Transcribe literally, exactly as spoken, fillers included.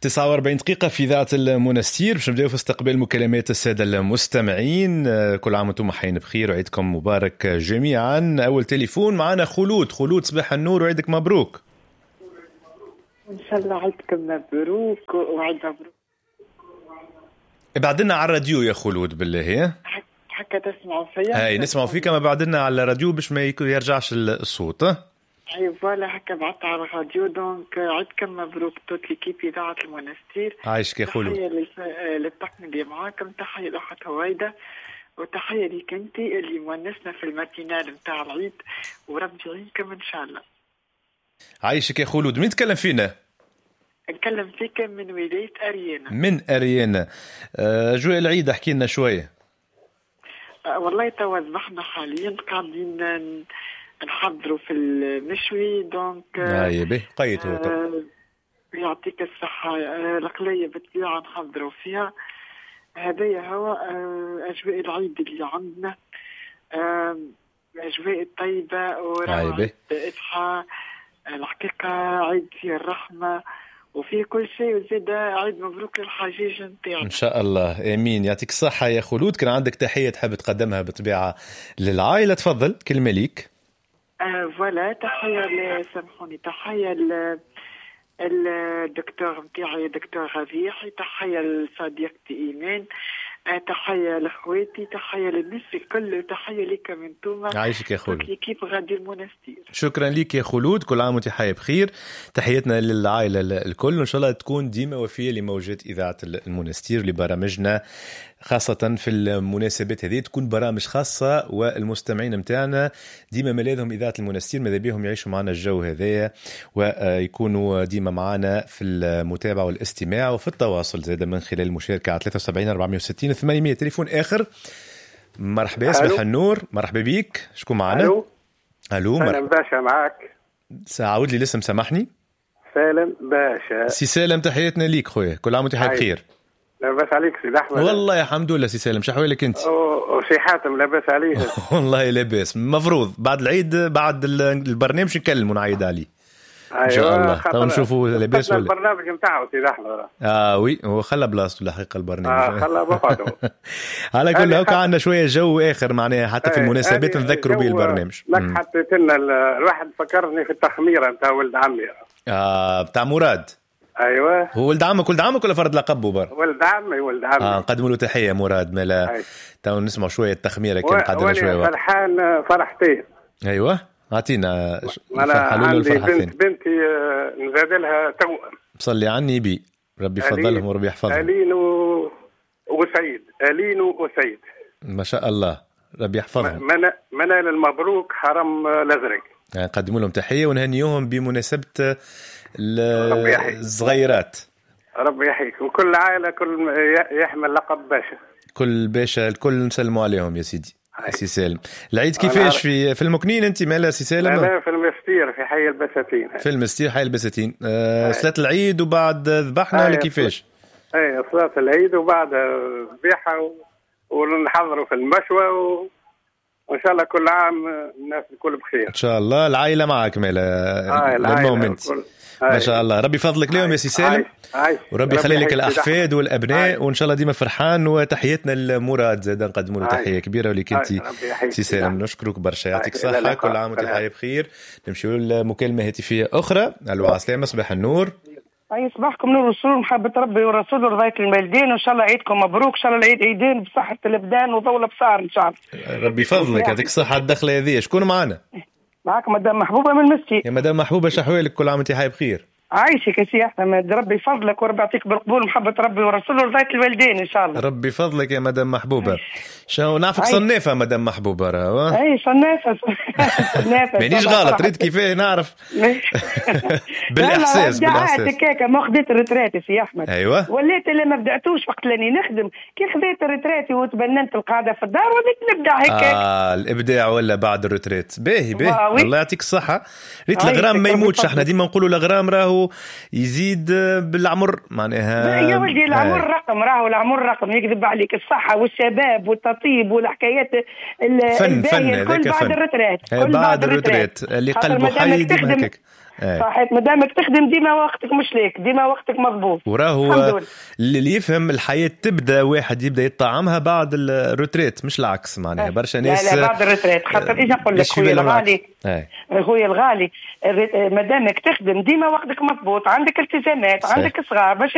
تسعة وأربعين دقيقة في إذاعة المنستير، باش نبداو في استقبال مكالمات السادة المستمعين. كل عام وانتم حيين بخير وعيدكم مبارك جميعا. أول تليفون معنا خلود. خلود صباح النور وعيدك مبروك. إن شاء الله عيدكم مبروك وعيد مبروك. ابعدنا على الراديو يا خلود بالله. حكا تسمعوا فيا؟ اي نسمعوا فيك، ما بعدنا على الراديو باش ما يرجعش الصوت. اي voilà هكا بعدت على الراديو. donc عيدكم مبروك toute l'équipe اذاعة المنستير. عايشك يا خلود. تحية للطاقم اللي معاكم، تحية لاخت هويدة، وتحية ليك انت اللي مونسنا في ال matinale نتاع العيد، وربي يعينكم ان شاء الله. عايشك يا خلود. مين تكلم فينا؟ نكلم فيك من ولاية أريانا. من أريانا. أجواء العيد احكي لنا شوية. والله توا ذبحنا حاليا، قاعدين نحضروا في المشوي. donc اي به قيت هو آه يعطيك الصحة. القلية بالطبيعة نحضروا فيها. هذايا هو أجواء العيد اللي عندنا، أجواء الطيبة وروعة إضحى. الحقيقة عيد فيه الرحمة وفيه كل شيء، وزاد عيد مبروك للحجيج نتاعنا ان شاء الله. امين. يعطيك الصحة يا خلود. كان عندك تحية تحب تقدمها بالطبيعة للعائلة، تفضل كلمة ليك. آه voilà تحية، سامحوني، تحية للدكتور نتاعي دكتور ربيحي، تحية لصديقتي ايمان، تحية لاخواتي، تحية للناس الكل، تحية لكم انتوما. عايشك يا خلود. l'équipe راديو المنستير. شكرا لك يا خلود، كل عام وانت حي بخير. تحياتنا للعائلة الكل، وان شاء الله تكون ديما وفيه لموجات اذاعة المنستير لبرامجنا، خاصة في المناسبات هذه تكون برامج خاصة، والمستمعين متاعنا ديما ملاذهم إذاعة المنستير، ماذا بيهم يعيشوا معنا الجو هذايا ويكونوا ديما معنا في المتابعة والاستماع وفي التواصل زاد من خلال المشاركة على ثلاثة وسبعين أربعمية وستين ثمانمية. تليفون آخر. مرحبا، صباح النور. مرحبا بيك، شكون معنا؟ ألو. ألو، سالم باشا معاك. عاود لي الاسم سامحني. سالم باشا. سي سالم، تحياتنا ليك خويا، كل عام وانت حي بخير. لاباس عليك سيد احمد؟ والله الحمد لله سي سالم، شحوالك انت؟ وسي حاتم لاباس عليه؟ والله لاباس. مفروض بعد العيد بعد البرنامج نكلم ونعيد عليه. أيوة ان شاء الله. تو نشوفوا لاباس ولا البرنامج نتاعو سيد احمد. اه oui، هو خلى بلاصته الحقيقة البرنامج. اه خلى بقعده. على كل هكا عندنا شوية جو اخر معناها، حتى في المناسبات نذكروا به البرنامج. لك حطيت لنا الواحد فكرني في التخميره نتاع ولد عمي. اه بتاع مراد. ايوه، هو ولد عمك؟ ولد عمك ولا فرد لقبه بر؟ ولد عمي، ولد عمي. اه نقدموا له تحية مراد. مالا تو نسمع شوية التخميره كان قعدنا شوية وقت. فرحان فرحتين. ايوه اعطينا. انا عندي بنت، بنتي نزاد لها توأم. صلي على النبي، ربي يفضلهم وربي يحفظهم. الين و... وسعيد. الين وسعيد ما شاء الله، ربي يحفظهم. منال المبروك حرم الازرق. يعني نقدموا لهم تحية ونهنيوهم بمناسبة الصغيرات. ربي يحييك. وكل عائلة كل يحمل لقب باشا. كل باشا الكل نسلموا عليهم يا سيدي. سي سالم، العيد كيفاش في في المكنين انت مالا سي سالم؟ انا في المستير في حي البساتين. في المستير حي البساتين. آه صلاة العيد وبعد ذبحنا ولا كيفاش؟ اي صلاة العيد وبعد ذبيحة و... ونحضروا في المشوى و... وان شاء الله كل عام الناس الكل بخير ان شاء الله. العائلة معك مالا؟ آه العائلة ما شاء الله، ربي يفضلك لهم يا سي سالم، وربي يخلي لك الاحفاد والابناء، وان شاء الله ديما فرحان. وتحياتنا لمراد زاد نقدموا له تحية كبيرة وليك انت سي سالم، نشكرك برشا، يعطيك الصحة، كل عام وانت حي بخير. نمشيو لمكالمه هاتفيه اخرى. الو عسلامة، صباح النور. اي صباحكم نور والسرور، محبة ربي والرسول ورضاية الوالدين، وان شاء الله عيدكم مبروك، ان شاء الله العيد عيدين بصحة الابدان وضوء الابصار ان شاء الله. ربي يفضلك، يعطيك الصحة على الدخلة هذه. شكون معنا؟ معك مدام محبوبه من المستي. يا مدام محبوبه، شحوالك؟ كل عام وانت حي بخير. عايشك يا سي احمد، ربي يفضلك وربي يعطيك بالقبول، محبة ربي ورسوله ورضايه الوالدين ان شاء الله. ربي يفضلك يا مدام محبوبه. شو نعرفك صنافه مدام محبوبه راه؟ اي صنافه صنافه مانيش غلط، ريت كيفاه نعرف بالاحساس. بالاحساس هكاك ما خديت ال retraite سي احمد. ايوه وليت اللي ما بداتوش وقت لاني نخدم، كي خديت ال retraite وتبننت القاعدة في الدار وليت نبدع هكاك. اه الابداع ولا بعد ال retraite. باهي باهي، الله يعطيك الصحة. ريت الغرام ما يموتش، احنا ديما نقولوا الغرام راهو يزيد بالعمر معناها. يا ولدي العمر رقم، راهو العمر رقم، يكذب عليك. الصحة والشباب والتطيب والحكايات فن فن هذاك بعد ال retraite، بعد ال retraite اللي قلبه حي ديما هكاك. صحيت، مادامك تخدم ديما وقتك مش ليك، ديما وقتك مضبوط. وراهو اللي يفهم الحياة تبدا واحد يبدا يطعمها بعد ال retraite مش العكس، معناها برشا ناس لا لا، بعد ال retraite، خاطر ايش نقول لك خويا الغالي، خويا الغالي، مادامك تخدم ديما وقتك مضبوط، عندك التزامات، عندك صغار باش